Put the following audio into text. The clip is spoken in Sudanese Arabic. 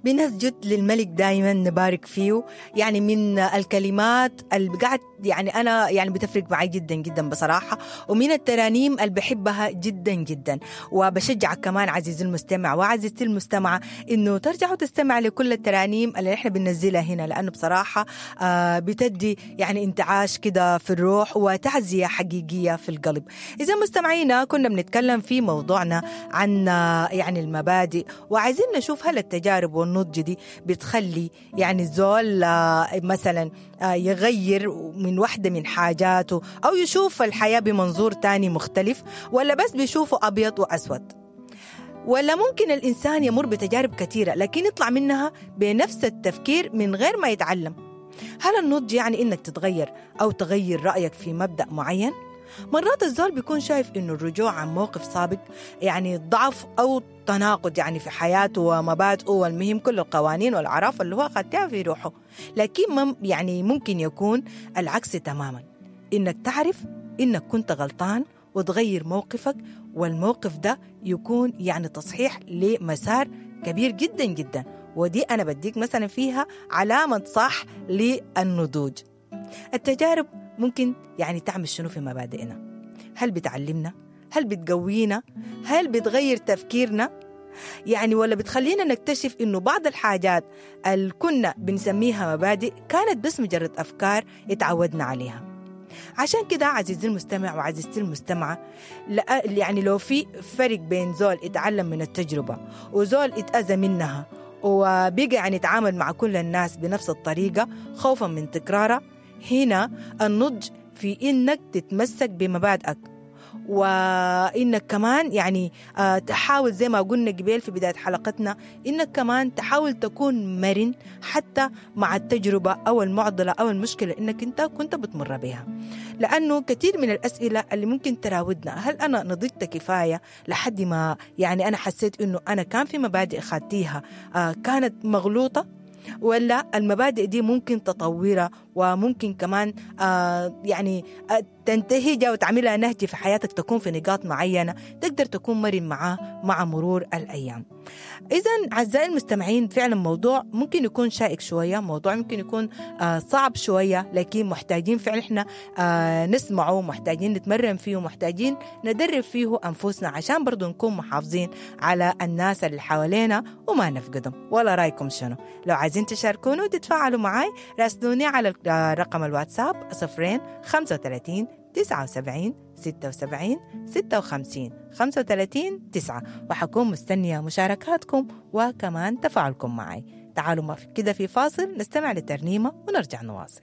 بنسجد للملك دايما نبارك فيه. يعني من الكلمات اللي قاعد يعني أنا يعني بتفرق معي جدا جدا بصراحة، ومن الترانيم اللي بحبها جدا جدا. وبشجعك كمان عزيزي المستمع وعزيزتي المستمعة إنه ترجعوا تستمع لكل الترانيم اللي إحنا بننزلها هنا، لأنه بصراحة بتدي يعني انتعاش كده في الروح وتعزية حقيقية في القلب. إذا مستمعينا كنا بنتكلم في موضوعنا عن يعني المبادئ، وعايزين نشوف هل التجارب والنضج دي بتخلي يعني الزول مثلا يغير من واحدة من حاجاته أو يشوف الحياة بمنظور تاني مختلف، ولا بس بيشوفه أبيض وأسود، ولا ممكن الإنسان يمر بتجارب كثيرة لكن يطلع منها بنفس التفكير من غير ما يتعلم. هل النضج يعني إنك تتغير أو تغير رأيك في مبدأ معين؟ مرات الزول بيكون شايف إنه الرجوع عن موقف سابق يعني ضعف أو تناقض يعني في حياته ومبادئه، والمهم كل القوانين والأعراف اللي هو خدتها في روحه، لكن يعني ممكن يكون العكس تماما، إنك تعرف إنك كنت غلطان وتغير موقفك، والموقف ده يكون يعني تصحيح لمسار كبير جدا جدا. ودي أنا بديك مثلا فيها علامة صح للنضوج. التجارب ممكن يعني تعمل شنو في مبادئنا؟ هل بتعلمنا؟ هل بتقوينا؟ هل بتغير تفكيرنا؟ يعني ولا بتخلينا نكتشف إنه بعض الحاجات اللي كنا بنسميها مبادئ كانت بس مجرد أفكار اتعودنا عليها. عشان كده عزيزي المستمع وعزيزتي المستمعة، يعني لو في فرق بين زول اتعلم من التجربة وزول اتأذى منها وبقى يعني يتعامل مع كل الناس بنفس الطريقة خوفا من تكرارها، هنا النضج في إنك تتمسك بمبادئك، وإنك كمان يعني تحاول زي ما قلنا قبل في بداية حلقتنا إنك كمان تحاول تكون مرن حتى مع التجربة أو المعضلة أو المشكلة إنك أنت كنت بتمر بها. لأنه كثير من الأسئلة اللي ممكن تراودنا، هل أنا نضجت كفاية لحد ما يعني أنا حسيت إنه أنا كان في مبادئ خدتيها كانت مغلوطة، ولا المبادئ دي ممكن تطورها وممكن كمان يعني تنتهجها وتعملها نهج في حياتك، تكون في نقاط معينة تقدر تكون مرن معاه مع مرور الأيام. إذن أعزائي المستمعين، فعلا موضوع ممكن يكون شائك شوية، موضوع ممكن يكون صعب شوية، لكن محتاجين فعلا إحنا نسمعه، محتاجين نتمرن فيه، محتاجين ندرب فيه أنفسنا عشان برضو نكون محافظين على الناس اللي حوالينا وما نفقدهم. ولا رأيكم شنو؟ لو عايزين تشاركونا وتتفاعلوا معاي راسلوني على رقم الواتساب 0 35 79 76 56 35 9، وحكون مستنية مشاركاتكم وكمان تفاعلكم معي. تعالوا ما في كده في فاصل نستمع لترنيمة ونرجع نواصل.